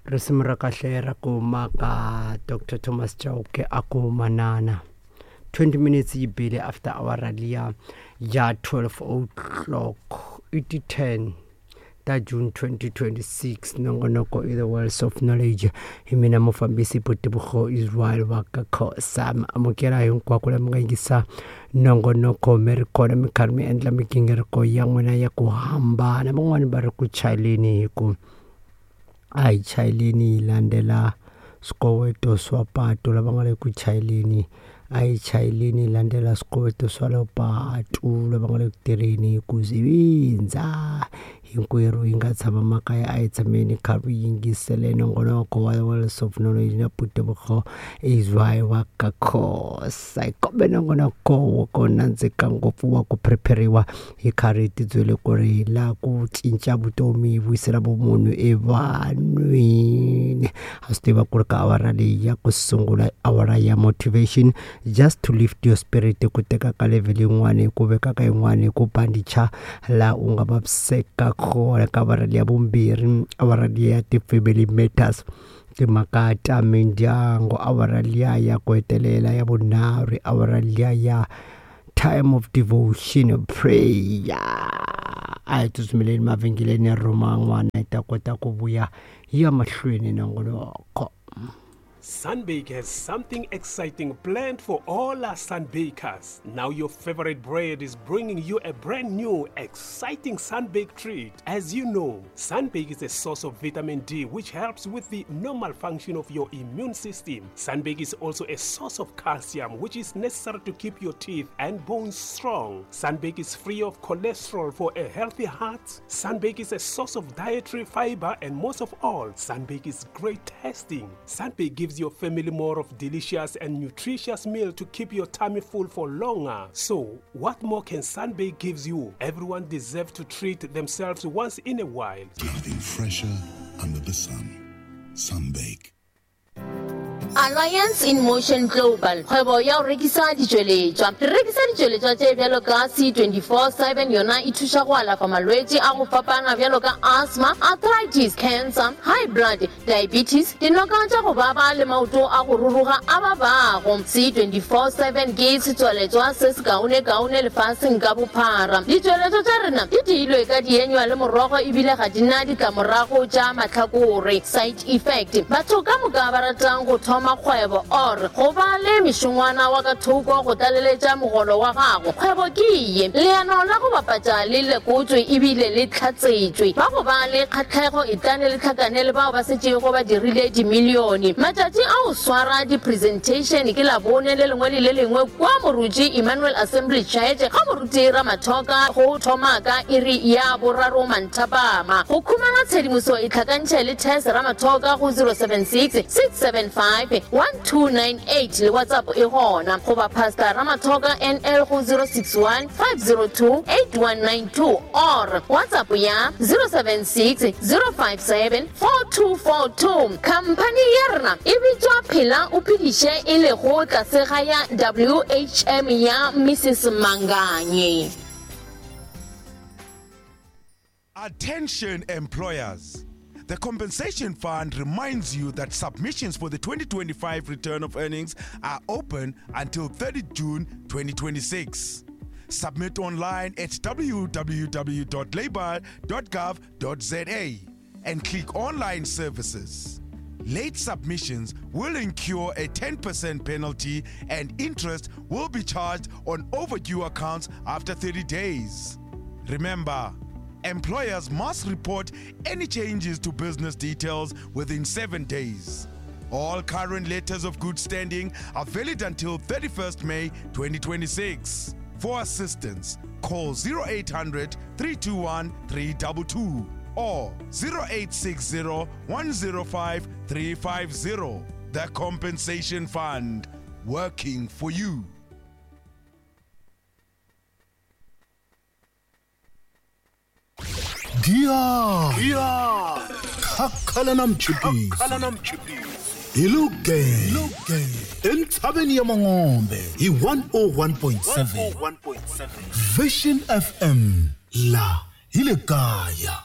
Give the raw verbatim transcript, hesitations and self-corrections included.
Risimu ra kahle ra ku maka Doctor Thomas Chauke a ku manana. twenty minutes yi bile after awara liya ya twelve o'clock i ti ten ta June twenty twenty-six. Nongonoko i the Wells of Knowledge. Hi mina mufambisi Botebugo Israel wa ka Khosa. Amukela hinkwako la mi nga yingisa nongonoko mi ri kona mi karhi mi endla migingiriko ya n'wina ya ku hambana. Van'wani va ri ku chayeleni hi ku a hi chayeleni hi landzela swikoweto swa patu. Lava nga le ku chayeleni a hi chayeleni hi landzela swikoweto swa le patu. Lava nga le ku tirheni ku zivindza hinkwerhu hi nga tshama makaya a hi tshameni kha ri yingisele nongonoko wa Wells of Knowledge na Botebugo Israel wa ka Khosa. Hi kombe nongonoko wo ko nandzika ngopfu wa ku prepariwa hi karhi hi tibyele ku ri hi laha ku cinca vutomi hi vuyisela vumunhu evanhwini. Ha swi tiva ku ri ka awara leyi ya ku sungula awara ya motivation, just to lift your spirit, ku teka ka level yin'wana ku veka ka yin'wana ku bandicha laha u nga vaviseka kona. Ka awara leyi ya vumbirhi, awara leyi ya ti-family matters, timhaka ta mindyangu. Awara liya ya ku hetelela ya vunharhu, awara liya ya time of devotion prayer. A hi tsutsumeleni mavhengeleni ya rhuma n'wana hi ta kota ku vuya hi ya mahlweni nongonoko. Sunbake has something exciting planned for all our sunbakers. Now your favorite bread is bringing you a brand new, exciting Sunbake treat. As you know, Sunbake is a source of vitamin D, which helps with the normal function of your immune system. Sunbake is also a source of calcium, which is necessary to keep your teeth and bones strong. Sunbake is free of cholesterol for a healthy heart. Sunbake is a source of dietary fiber, and most of all, Sunbake is great tasting. Sunbake gives your family more of delicious and nutritious meal to keep your tummy full for longer. So, what more can Sunbake gives you? Everyone deserves to treat themselves once in a while. Nothing fresher under the sun. Sunbake. Alliance in Motion Global, kgwebo ya go rekisa ditšweletšwa. Re rekisa ditšweletšwa tše bjalo ka C twenty-four seven, yona e thuša go alafa malwetši a go fapana bjalo ka asthma, arthritis, cancer, high blood, diabetes, dinoka tša go baba le maoto a go ruruga a babago. C twenty-four seven ke setswaletšwa se se kaone-kaone lefaseng ka bophara. Ditšweletšwa tša rena di diilwe ka dienywa le morogo ebile ga di na ditlamorago tša mahlakore, side effect. Batho ka moka ba ratang go thoma kgwebo or go ba le mešongwana wa ka thoko go tlaleletša mogolo wa gago, kgwebo ke ye. Leano la go bapatša le lekotswe ebile le tlhatsetšwe. Ba go ba le kgatlhego e tlane le tlhakane le bao ba setšego ba dirile dimilione. Matšatši a go swara di-presentation ke Labone le lengwe le le lengwe kwa Moruti Emmanuel Assembly Church ga Moruti Ramathoka go thoma ka iri ya boraro manthapama. Go khumana tshedimoso e tlhakantšhe le Tess Ramathoka go zero seven six six seven five one two nine eight le WhatsApp e gona, goba Pastor Ramathoka N L go zero six one five zero two eight one nine two or WhatsApp ya zero seven six zero five seven four two four two. Company ya rena e bitswa Phela o Phediše e lego tlase ga ya W H M ya Missus Manganye. Attention employers. The Compensation Fund reminds you that submissions for the twenty twenty-five return of earnings are open until thirtieth June twenty twenty-six. Submit online at w w w dot labour dot gov dot z a and click Online Services. Late submissions will incur a ten percent penalty and interest will be charged on overdue accounts after thirty days. Remember, employers must report any changes to business details within seven days. All current letters of good standing are valid until thirty-first May twenty twenty-six. For assistance, call zero eight hundred, three two one, three two two or zero eight six zero, one zero five, three five zero. The Compensation Fund, working for you. Dia Dia Khakhala na mchipisi Iluke Entshabeni ya Mangombe hi one oh one point seven Vision F M la hi le kaya.